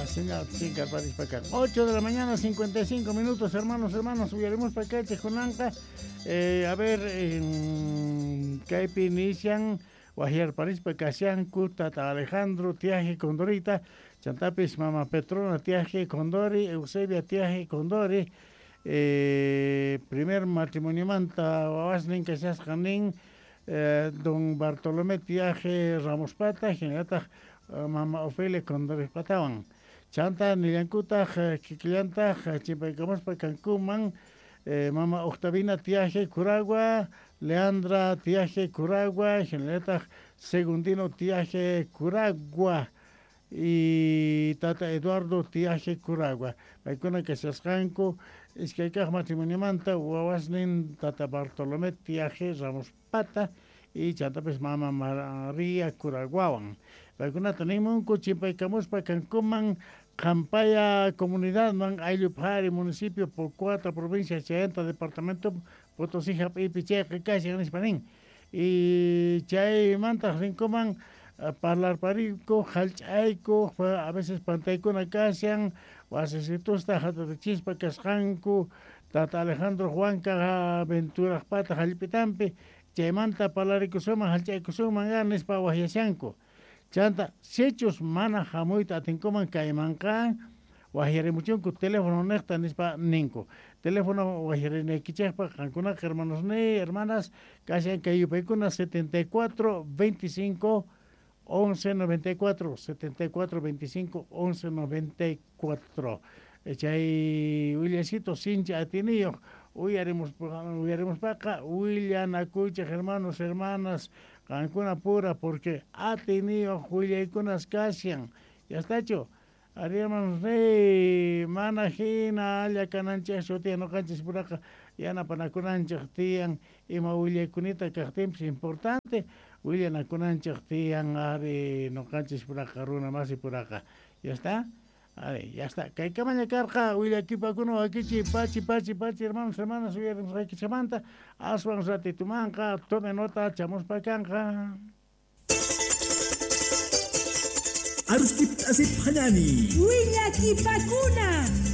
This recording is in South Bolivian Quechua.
Señal chinkarparispa kan. 8 de la mañana, 55 minutos, hermanos, hermanas, uyarimuspa kaychej kunanqa. A ver, kaypi inician wajyarparispa kashanku tata Alejandro Tiaje Condorita, chantapis mama Petrona Tiaje Condori, Eusebia Tiaje Condori, primer matrimoniomanta wawasnin kashasqa nin don Bartolomé Tiaje Ramospata, hinallataq mama Ofelia Condoripatawan. Chanta nillankutaq kikillantaq chimpaykamuspa kankuman mama Octavina Tiaje Curagua, Leandra Tiaje Curagua, hinallataq Segundino Tiaje Curagua y tata Eduardo Tiaje Curagua. Paykuna kashasqanku iskay kaq matrimoniomanta wawasnin tata Bartolomé Tiaje Ramos Pata y chantapis mama María Curaguawan. Paykunata nimunku chimpaykamuspa kankuman Qampaya comunidadman Ayllupari municipio Pocoata provincia Chayanta departamento Potosí hap'iypi chayqa kashan nispa nin. Y chaymantaq rinkuman parlarpariyku hallch'ayku a veces pantaykuna kashan wasisitusta hatarichispa kasqanku tata Alejandro Juanka Venturajpata hallp'itanpi chaymanta parlarikusunman hallch'aykusunman nispa waqyashanku. Chanta sichus mana hamuyta atinkuman kaymanqa waqyarimuchunku teléfono niqta nispa ninku. Teléfono waqyarinaykichikpaq qankunaqa hermanos ni hermanas kashan kay yupaykuna 74 25 11 94 74 25 11 94. Chay willasito sincha atiniyuq uyarimuspaqa willanakuychik hermanos hermanas qankuna pura porque atiniyuq willaykunas kashan. Ya estachu? Ari hermanos rey mana hina llakananchikchu tiyan ñuqanchis puraqa yanapanakunanchik tiyan ima willaykunita kaqtinpis importante willanakunanchik tiyan ari ñuqanchis puraqa runa masi puraqa. Ya está? Ari, ya está. Kaykamaña karqa willakipakuna wakichi pachi pachi pachi hermanos hermanas uyarimusqaykichamanta aswan ratitumanqa tome nota chamuspa kanqa. Aruskip asip hañani. Willakipakuna.